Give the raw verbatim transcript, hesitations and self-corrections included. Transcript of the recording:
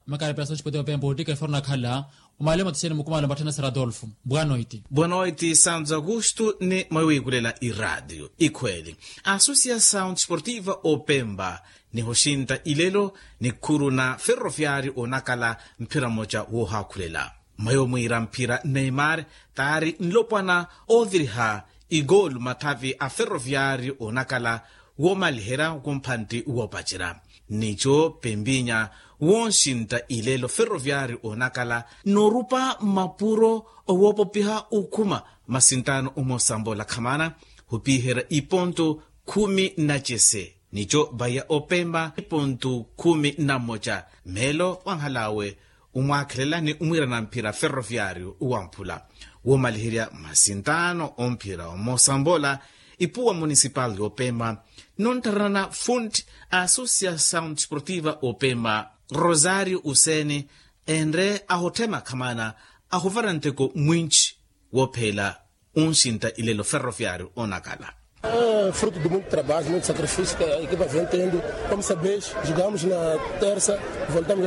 Makara pela santos pote opempa otika eforno akhala. Omalemo tixene mukumala mbatthana sara adolfo. Boa noite. Boa noite santos augusto ni mwawiikulela iraatiyo ikhweeli. Associação desportiva opempa nihoxinta ilelo nikhuru na ferroviário onakala mphira mmoja woohaakhulela. Mwayo mwiira mphira neymar taari nlopwana ooviriha igoolu mathavi a ferroviário onakala woomaliherya kumphantti woopacerya. Nico pempinya woonxintta ilelo ferroviário onakala noorupa mapuro owoopopiha okhuma masinttaano omosambola khamana hupiherya iponto khumi na cese. Nico vaya opempa ipontu khumi na mmoja meelo wanhalawe umwaakhelela ni umwiirana mphira ferroviário wamphula woomaliherya masinttaano omphira omosambola. Ipuwa municipal y'opempa nontharana fund associação desportiva opempa rosario useni enre ahotthema khamana ahuvara nteko mwinci woophela. Unxinta ilelo ferroviário onakala. Fruto de muito trabalho, muito sacrifício que a equipa vem tendo. Como sabes, jogamos na terça, voltamos.